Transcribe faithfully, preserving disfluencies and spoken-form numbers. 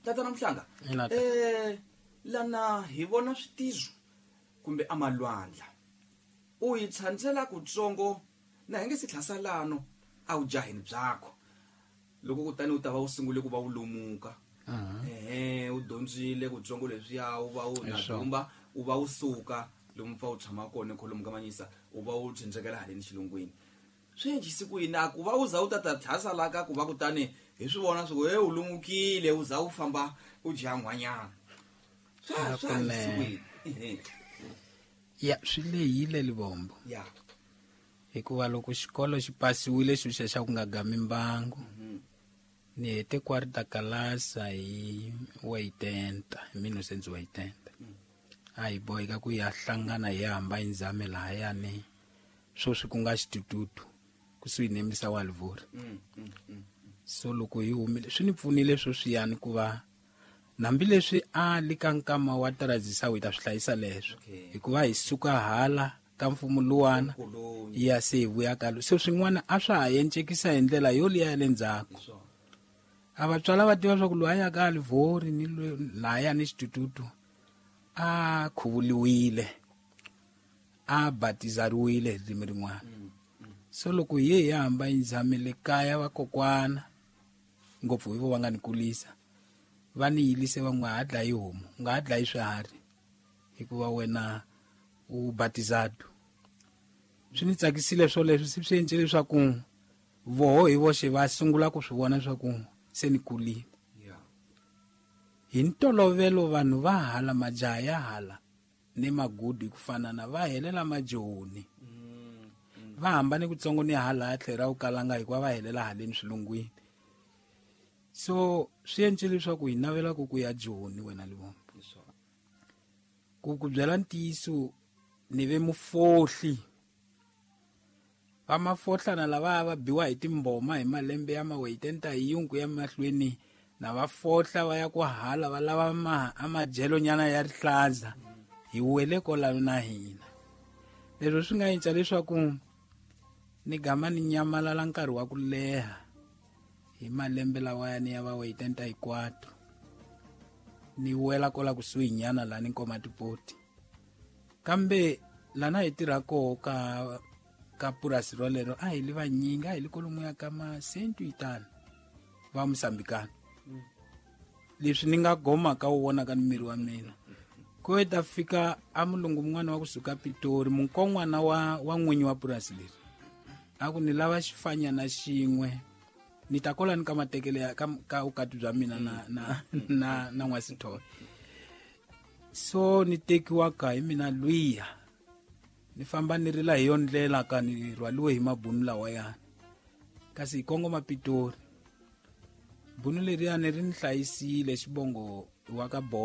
Tatana Mhlanga, Ina, tata. eh lana hi vona switizo kumbe amalwandla. U yi tshandzela kutsongo na hi nge si tlhasalano a wu jaheni byakho. Loko kutani u ta va u sungule ku va u lomuka. Ehe, u dyondzile kutsongo leswiya u va u na Hi swona. dumba, u va u suka lomu pfa u tshama kona kholomu ka manyisa, u va u tshendzekela haleni xilungwini. Swi endlise ku yini a ku va u za u ta ta tlhasala ka ku va kutani hi swi vona swi ku he u lumukile u za u famba u dya n'wanyana. Swa swa endlise ku yini? Ehe. Ya swi lehile Livombo. Ya. Hikuva loko xikolo xi pasiwile xo xa xa ku nga gami mbangu. Ni hete quarta kalasa hi waitenta, hi mille novecentos oitenta. A hi boheka ku ya hlangana hi hamba hi ndzame lahayani sweswi ku nga xitututu kusuhi ni misa wa Livori. Mm, mm, mm. So loko hi humile swi ni pfunile sweswiyani ku va hambileswi a li ka nkama wa transition hi ta swi hlayisa leswo. Okay. Hikuva hi suka hala ka mfumo luwana Koloni. ya se hi vuya ka lo. Se swin'wana a swa ha encekisa hi ndlela yo liya ya le ndzhaku. Hi swona. A vatswala va tiva swa ku loyi a yaka Livori ni loyi lahaya ni xitututu a khuvuliwile, a batizariwile hi ririmi rin'wana. So loko hi ye hi hamba hi ndzhamile kaya vakokwana ngopfu hi vo va nga ni kulisa va ni yilise va nga ha dlayi homu, u nga ha dlayi swiharhi hikuva wena u batizado. Swi ni tsakisile swoleswo, se swi endle leswaku voho hi voxe va sungula ku swi vona leswaku se ni kulile. Yeah. Hi ntolovelo vanhu va hala majaha ya hala ni magudu hi ku fanana va helela majoni. Mm, mm. Va hambane kutsongo ni hala ya tlhela u kalanga hikuva va helela haleni swilungwini. So swi endle leswaku hi navela ku ku ya Joni wena Livombo. Hi swona. Ku ku byela ntiyiso ni ve mufohli. Va mafohlana lava va biwa hi timboma hi malembe ya maweitenta hi yungu ya mahlweni na va fohla va ya ku hala va lava ma a madyelo nyana ya rihlaza hi wele kolano na hina. Leswi swi nga endla leswaku ni gama ni nyamalala nkarhi wa ku leha hi malembe lawa ni ya va weitenta hi quatro. Ni wela kola kusuhi nyana la ni nkoma tipoti. Kambe lana hi tirha koho ka ka purasi rolero a hi li vanyingi, a hi li kolomu ya ka ma cento e tano va Mosambikana. Leswi ni nga goma ka wu vona ka miri wa mina. Ku ta fika a mulungu mun'wana wa kusuka Pitori, munkon'wana wa, wa n'winyi wa purasi leri. A ku ni lava xifanyana xin'we, ni ta kola ni ka matekele ya, ka, ka vukati bya mina na, na, na, na n'waSithole. So ni tekiwa ka hi mina lwiya. Ni famba ni rila hi yo ndlela ka ni rhwaliwe hi mabunu lawayani. Kasi hi kongoma Pitori. Bunu leriyani ri ni hlayisile xivongo wa ka Bo